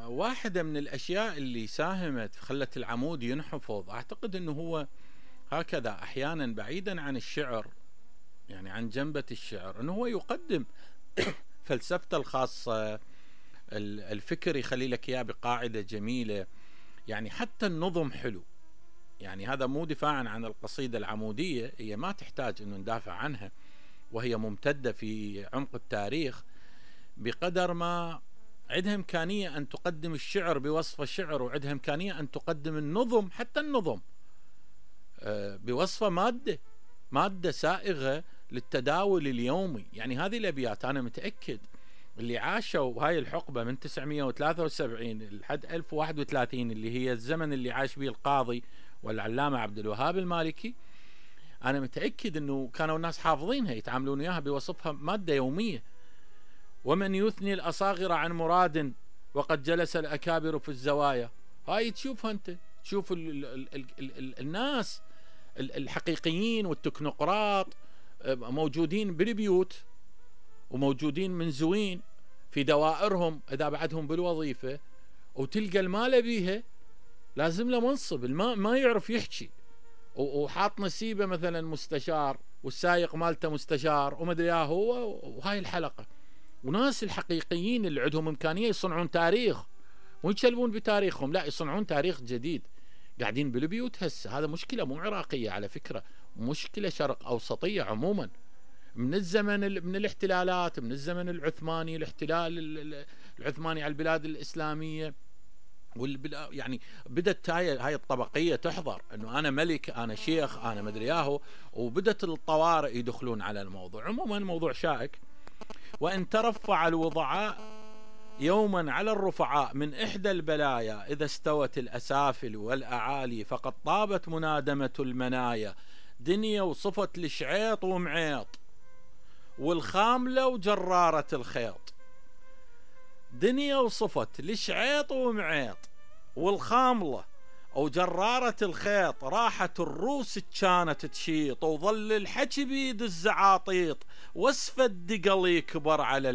واحدة من الأشياء اللي ساهمت خلت العمود ينحفظ، أعتقد أنه هو هكذا أحيانا بعيدا عن الشعر، يعني عن جنبة الشعر، أنه هو يقدم فلسفته الخاصة، الفكر يخلي لك إياه بقاعدة جميلة، يعني حتى النظم حلو. يعني هذا مو دفاعا عن القصيدة العمودية، هي ما تحتاج أنه ندافع عنها، وهي ممتدة في عمق التاريخ، بقدر ما عندها إمكانية أن تقدم الشعر بوصف الشعر، وعندها إمكانية أن تقدم النظم، حتى النظم بوصفة مادة سائغة للتداول اليومي. يعني هذه الأبيات أنا متأكد اللي عاشوا هاي الحقبة من 973 لحد 1031 اللي هي الزمن اللي عاش به القاضي والعلامة عبد الوهاب المالكي، أنا متأكد أنه كانوا الناس حافظينها، يتعاملون وياها بوصفها مادة يومية. ومن يثني الأصاغر عن مراد وقد جلس الأكابر في الزوايا. هاي تشوفها أنت، تشوف الناس الحقيقيين والتكنوقراط موجودين بالبيوت وموجودين منزوين في دوائرهم إذا بعدهم بالوظيفة، وتلقى المال بيها لازم له منصب، ما يعرف يحكي، وحاط نسيبه مثلا مستشار، والسايق مالته مستشار، ومدري هو، وهاي الحلقة. وناس الحقيقيين اللي عندهم إمكانية يصنعون تاريخ، مو يتشلبون بتاريخهم، لا، يصنعون تاريخ جديد، قاعدين بالبيوت هسه. هذا مشكلة مو عراقية على فكرة، مشكلة شرق أوسطية عموما، من الزمن من الاحتلالات، من الزمن العثماني، الاحتلال العثماني على البلاد الإسلامية، يعني بدت هاي الطبقية تحضر انه انا ملك، انا شيخ، انا مدري وبدت الطوارئ يدخلون على الموضوع. عموما موضوع شائك. وان ترفع الوضعاء يوما على الرفعاء من احدى البلايا، اذا استوت الاسافل والاعالي فقد طابت منادمة المنايا. دنيا وصفت لشعيط ومعيط والخاملة وجرارة الخيط. دنيا وصفت لشعيط ومعيط والخاملة وجرارة الخيط. راحت الروس كانت تشيط، وظل الحكي بيد الزعاطيط، واسفى الدقل يكبر على